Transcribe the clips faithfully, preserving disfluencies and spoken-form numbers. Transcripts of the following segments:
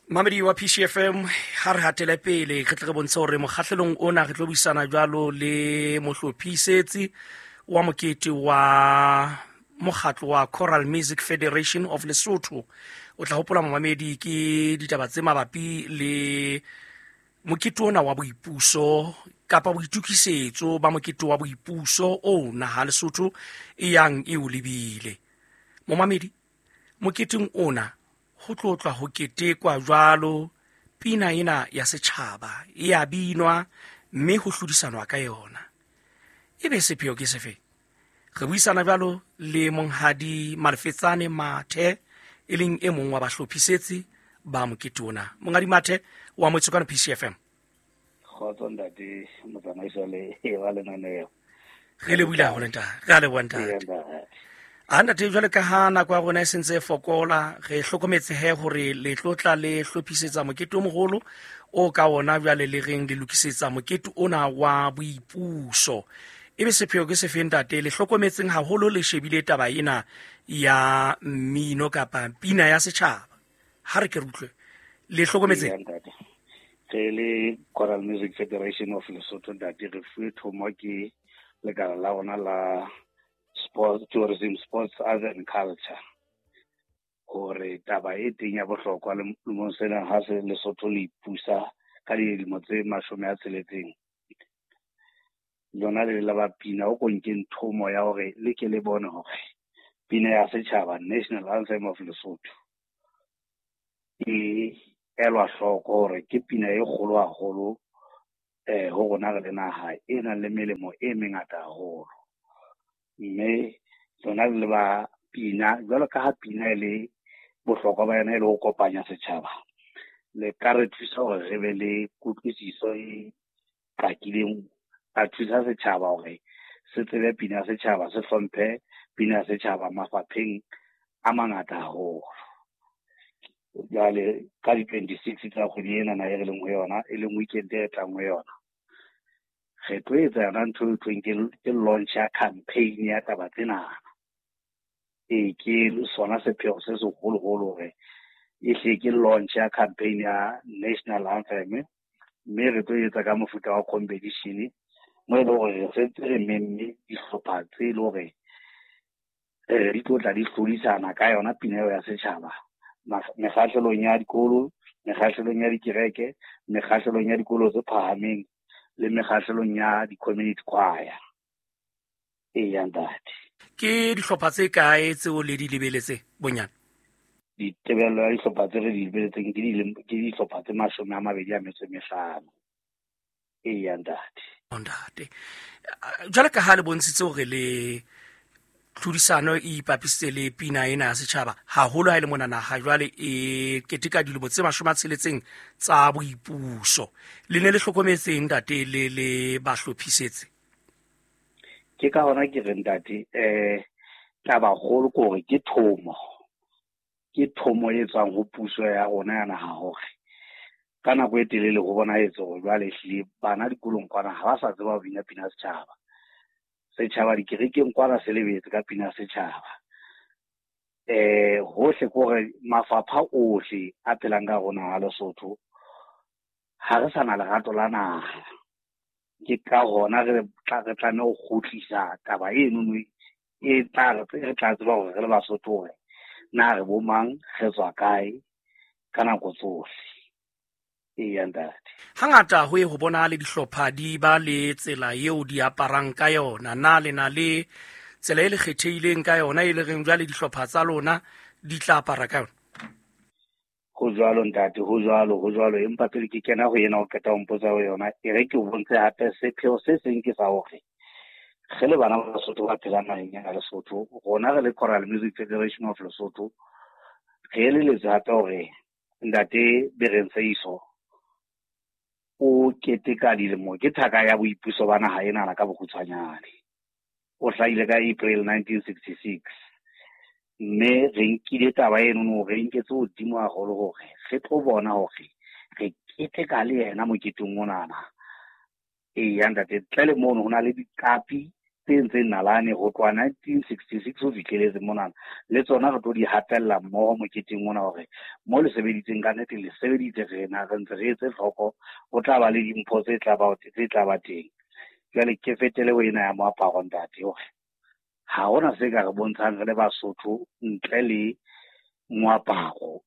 Mamedi wa P C F M, ha re hatele pele re tle re bontshe hore mokgahlelong ona re tlo buisana jwalo le mohlophisetsi wa mokete wa mokgatlo wa Choral Music Federation of Lesotho. O tla hopola momamedi ke ditaba tse mabapi le mokete ona wa boipuso kapa boitukisetso ba mokete wa boipuso o naha Lesotho e yang e o lebile. Momamedi, moketeng ona ho tlotlwa ho ketekwa jwalo pina ena ya setjhaba e a binwa mme ho hlodisanwa ka yona. Ebe sepheo ke sefe? Re buisana jwalo le monghadi Malefetsane Mathe, e leng e mong wa bahlophisetsi ba mokete ona. Monghadi Mathe wa Motsokano P C F M. Kgotso ntate motsamaisi le wa lenaneo. Re lebohile haholo ntate. Re a leboha ntate. A ntate, jwale ka ha nako ya rona e sentse e fokola, re hlokometse he hore le tlotla le hlophisetsa mokete o moholo o ka ona jwale le reng le lokisetsa mokete ona wa boipuso. Ebe sepheo ke sefe ntate? Le hlokometseng haholo le shebile taba ena ya mmino kapa pina ya setjhaba. Ha re ke re utlwe. Le hlokometseng? Re le Choral Music Federation of Lesotho ntate, re fuwe thomo ke lekala la rona la Sports, Tourism, Sports, Arts and Culture hore taba e teng ya bohlokwa lemong sena ha se Lesotho le ipusa ka dilemo tse mashome a tsheletseng, lona le la ba pina o konkeng thomo ya hore le ke le bone hore pina ya setjhaba, National Anthem of Lesotho, e elwa hloko hore ke pina e kgolo haholo eh ho rona re le naha e nang le melemo e mengata haholo. Mme lona le ba pina jwalo ka ha pina e le bohlokwa ba yona e le ho kopanya setjhaba, le ka re thusa hore re be le kutlwisiso e qakileng, ka thusa setjhaba hore se tsebe pina ya setjhaba, se hlomphe pina ya setjhaba mafapheng a mangata haholo. Jwale ka di-twenty-six tsa kgwedi ena na e re leng ho yona, e leng weekend e tlang ho yona, re tlo etsa yona ntho e thweng ke launch ya campaign ya taba tsena. E ke sona sepheo se seholoholo hore e hle ke launch ya campaign ya National Anthem, mme re tlo etsa ka mofuta wa competition mo e leng hore re sentse re memme dihlopha tse e leng hore di tlo tla di hlodisana ka yona pina eo ya setjhaba mekgahlelong ya dikolo, mekgahlelong ya dikereke, mekgahlelong ya dikolo tse phahameng le mekgahlelong ya di-community choir. Eya ntate. Ke dihlopha tse kae tseo le di lebeletse bonyane? Ditebello ya dihlopha tse re di lebeletseng ke dihlopha tse mashome a mabedi a metso e mehlano. Eya ntate. Ntate, jwale ka ha le bontshitse hore le tlhodisano e ipapisitse le pina ena ya setjhaba haholo ha e le mona naha jwale e keteka dilemo tse mashome a tsheletseng tsa boipuso, le ne le hlokometseng ntate le le bahlophisetse? Ke ka hona ke re ntate, eh taba kgolo ke hore ke thomo, ke thomo e tswang ho puso ya rona ya naha hore ka nako e telele ho bonahetse hore jwale ehlile bana dikolong kwana ha ba sa tseba ho bina pina ya setjhaba. Setjhaba dikerekeng kwana se lebetse ka pina ya setjhaba. Eh hohle ke hore mafapha ohle a phelang ka rona ha Lesotho ha re sa na lerato la naha. Ke ka hona re tla re tlameha ho kgutlisa taba eno e tla re tla tseba hore re le Basotho hore na re bo mang, re tswa kae ka nako tsohle. Eya ntate. Hangata ho ye ho bona le dihlopha di ba le tsela eo di aparang ka yona. Na le na le tsela e le kgethehileng ka yona e le reng jwale dihlopha tsa lona di tla apara ka yona? Ho jwalo ntate, ho jwalo, ho jwalo. Empa pele ke kena ho yena o qeta ho mpotsa ho yona, e re ke o bontshe hape sepheo se seng ke sa hore re le bana ba Lesotho ba phelang naheng ya Lesotho, rona re le Choral Music Federation of Lesotho, re eleletswe hape hore ntate Bereng Seiso o keteka dilemo, ke thaka ya boipuso ba naha ena ka bokgutshwanyane. O hlahile ka April nineteen sixty-six. Mme re nkile taba eno re nketse hodimo haholo hore re tlo bona hore re keteka le yena moketeng onana. Eya ntate, ntle le mono ho na le diqapi tse ntseng nalane ho tloha nineteen sixty-six ho fihleletse monana, le tsona re tlo di hatella mmoho moketeng ona hore mo le sebeditseng ka nnete le sebeditse, rena re ntse re etse hloko, ho tla ba le dimpho tse tla ba tse tla ba teng. Jwale ke fetele ho ena ya moaparo ntate, hore ha hona se ka re bontshang re le Basotho ntle le moaparo.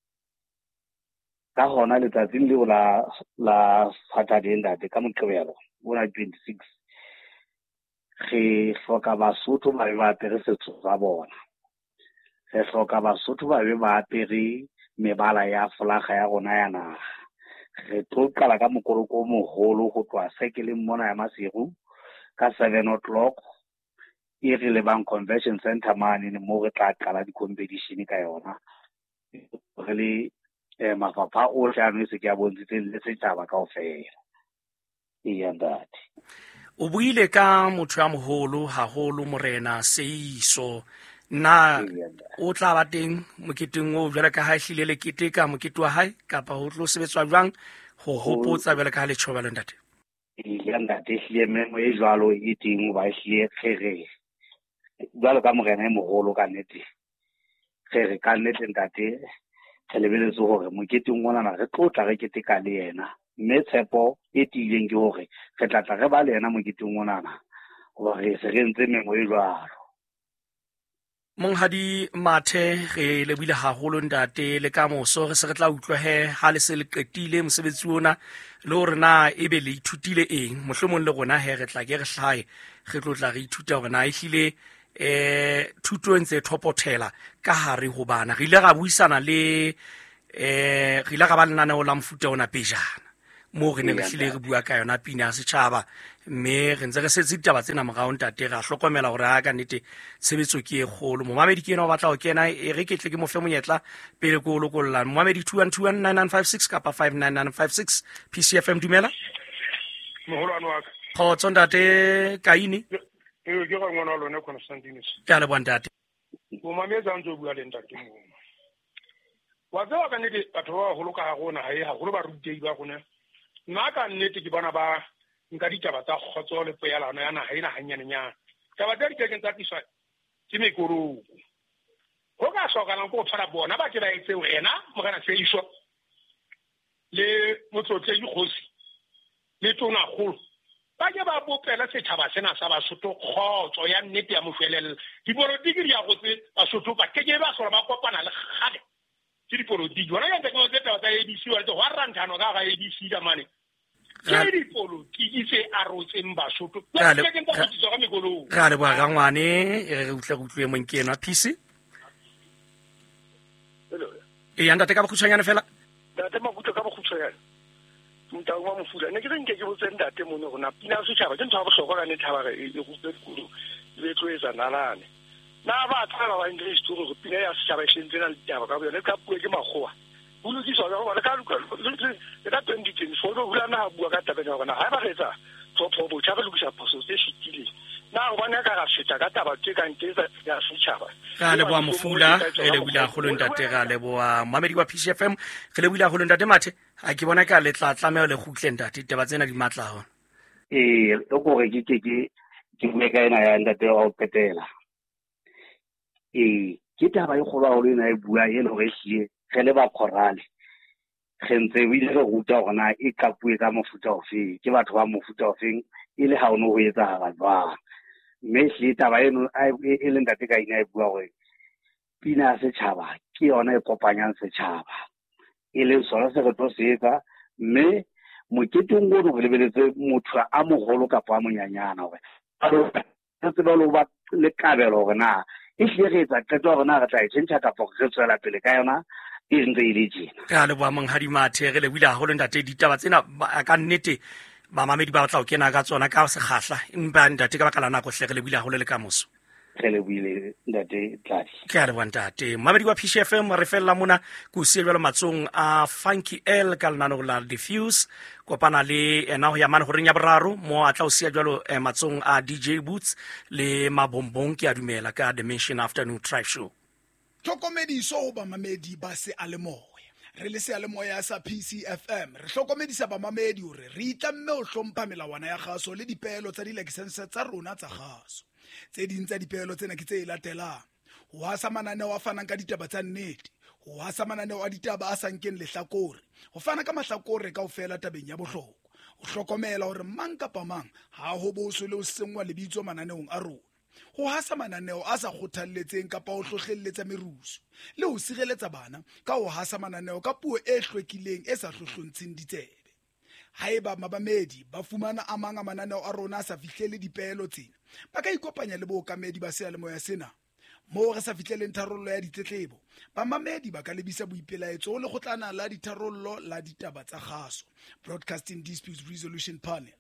Ka hona letsatsing leo la la Saturday ntate, ka Moqebelo ona twenty-six, re hloka Basotho ba be ba apere setso sa bona, re hloka Basotho ba be ba apere mebala ya folaga ya rona ya naha. Re tlo qala ka mokoloko o moholo ho tloha sekeleng mona ya Maseru ka seven o'clock, e re lebang Convention Center mane mo re tla qala di-competition ka yona, re le eh, mafapha ohle ano e se ke a bontshitseng le setjhaba kaofela. Eya ntate. O buile ka motho ya moholo haholo, Morena Seiso. Na o tla ba teng moketeng oo jwale ka ha ehlile le keteka mokete wa hae, kapa ho tlo sebetswa jwang ho hopotsa jwale ka ha le tjho jwalo ntate? Eya ntate, ehlile memo e jwalo e teng, hoba ehlile re re jwalo ka morena e moholo ka nnete, re re ka nnete ntate, re lebeletse hore moketeng onana re tlo tla re keteka le yena, mme tshepo e tiileng ke hore re tla tla re ba le yena moketeng onana, hoba re se re entse memo e jwalo. Monghadi Mathe, re lebohile haholo ntate, le ka moso re se re tla utlwa he ha le se le qetile mosebetsi ona, le hore na ebe le ithutile eng. Mohlomong le rona he re tla ke re hlahe, re tlo tla re ithuta hore na ehlile eh thuto e ntse thopothela ka hare ho bana. Re ile ra buisana le eh re ile ra ba lenaneo la mofuta ona pejana, moo re neng re hlile re bua ka yona pina ya setjhaba, mme re ntse re setse ditaba tsena morao ntate, ra hlokomela hore ha ka nnete tshebetso ke e kgolo. Momamedi ke ena o batla ho kena, e re ke tle ke mo fe monyetla pele ke o lokolla. Momamedi two one two one nine nine five six kapa five nine nine five six. P C F M, dumela. Moholwane wa ka. Kgotso ntate Kaine. Ee, ke ga ngwana wa lona Constantinus. Ke a leboha ntate. Momamedi a ntse o bua le ntate moo. Wa tseba ka nnete batho ba baholo ka ha rona, hae haholo barutei ba rona, nna ka nnete ke bona ba nka ditaba tsa kgotso le poelano ya naha ena hanyanenyana. Taba tse dikekeng tsa tliswa ke mekoroko. Ho ka hlokahalang ke ho tshwara bona ba ke ba etse wena Morena Seiso le Motlotlehi Kgosi le Tonakgolo, ba ke ba bopela setjhaba sena sa Basotho kgotso ya nnete ya moshwelella. Dipolotiki di a rotse Basotho, ba keke ba hlola ba kopana le kgale ke dipolotiki. Hona jwale ke tse taba tsa A B C, wa ho ranthano ka ga A B C ka mane. Ke dipolotiki tse arotseng Basotho. Ke ke ntse go ka mekolong. Re a leboha rangwane, re utlwe re utlwe mong ke enwa P C. Eya ntate, ka bokgutshwanyane fela. Ntate Makuto, ka bokgutshwanyane. Motau wa Mofula, ne ke re nke ke botse ntate mono hore na pina ya setjhaba ke ntho ya bohlokwa ka nnete ha ba re e rutwe dikolong, e be e tlo etsa nalane. Na ba tsaba ba English hore pina ya setjhaba e hlentse na le ditaba ka boyona, e ka puo ke makgowa. Ho lokiswa ka hobane ka le ka twenty twenty-four ho hula naha bua ka taba ena hore na ha ba re etsa tlhopho botjha re lokisa phoso tse fetileng. Na hobane ka ra feta ka taba tse kang tse ya setjhaba. Re a leboha Mofula, re lebohile haholo ntate, re a leboha momamedi wa P C F M, re lebohile haholo ntate Mathe. Ha ke bona ka le tla tlameha le kgutle ntate, ditaba tsena di matla haholo. Ee, o kore ke ke ke ke bue ka ena ya ntate wa ho qetela. Ee, ke taba e kgolo haholo ena e bua e le hore ehlile re le ba khorale, re ntse ebile re ruta hore na e qapuwe ka mofuta ofeng, ke batho ba mofuta ofeng, e le ha ono ho etsahala jwang. Mme ehlile taba eno e le ntate ka ina e bua hore pina ya setjhaba ke yona e kopanyang setjhaba, e leng sona se re tlo se etsa. Mme moketeng ono re lebeletse motho a moholo kapa a monyanyana hore a tsebe le ho ba le kabelo hore na ehlile re etsa qeto hore na re tla e tjhentjha kapa re tswela pele ka yona e ntse e le tjena. Re a leboha Monghadi Mathe, re lebohile haholo ntate. Ditaba tsena ka nnete bamamedi ba batla ho kena ka tsona ka sekgahla, empa ntate ka baka la nako hle re lebohile haholo le ka moso. Re lebohile ntate Tladi. Ke a leboha ntate. Momamedi wa P C F M, re fella mona ke o siya jwalo matsong a Funky L ka lenaneo la Diffuse. Kopana le ena ho ya mane horeng ya boraro mo a tla o siya jwalo matsong a D J Boots le Mabombong, ke a dumela, ka Dimension Afternoon Tribe Show. Tlhokomediso ho bamamedi ba seyalemoya. Re le seyalemoya sa P C F M re hlokomedisa bamamedi hore re itlamme ho hlompha melawana ya kgaso le dipeelo tsa dilaesense tsa rona tsa kgaso. Tse ding tsa dipehelo tsena ke tse latelang: ho hasa mananeo a fanang ka ditaba tsa nnete, ho hasa mananeo a ditaba a sa nkeng lehlakore, ho fana ka mahlakore kaofela tabeng ya bohlokwa, ho hlokomela hore mang kapa mang ha ho boswe le ho senngwa lebitso mananeong a rona, ho hasa mananeo a sa kgothalletseng kapa ho hlohlelletsa merusu, le ho sireletsa bana ka ho hasa mananeo ka puo e hlwekileng e sa hlohlontsheng ditsebe. Haeba mamamedi ba fumana a mang a mananeo a rona a sa fihlele dipehelo tsena, ba ka ikopanya le bookamedi ba seyalemoya sena. Moo re sa fihleleng tharollo ya ditletlebo, bamamedi ba ka lebisa boipelaetso ho lekgotlana la ditharollo la ditaba tsa kgaso, Broadcasting Disputes Resolution Panel.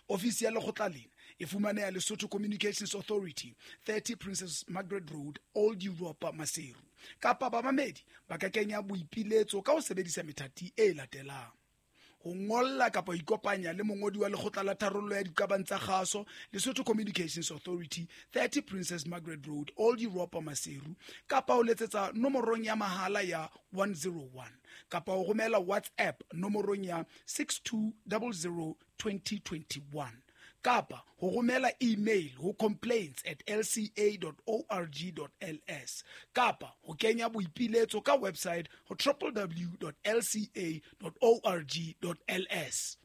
Ofisi ya lekgotla lena e fumaneha Lesotho Communications Authority, thirty Princess Margaret Road, Old Europa, Maseru. Kapa bamamedi ba ka kenya boipiletso ka ho sebedisa methati e latelang: ho ngolla kapa ho ikopanya le mongodi wa lekgotla la tharollo ya diqabang tsa kgaso, Lesotho Communications Authority, thirty Princess Margaret Road, Old Europa, Maseru, kapa ho letsetsa nomorong ya mahala ya one zero one, kapa ho romela WhatsApp nomorong ya six two zero zero twenty twenty one, kapa ho romela email ho complaints at l c a dot org dot l s, kapa ho kenya boipiletso ka website ho w w w dot l c a dot org dot l s.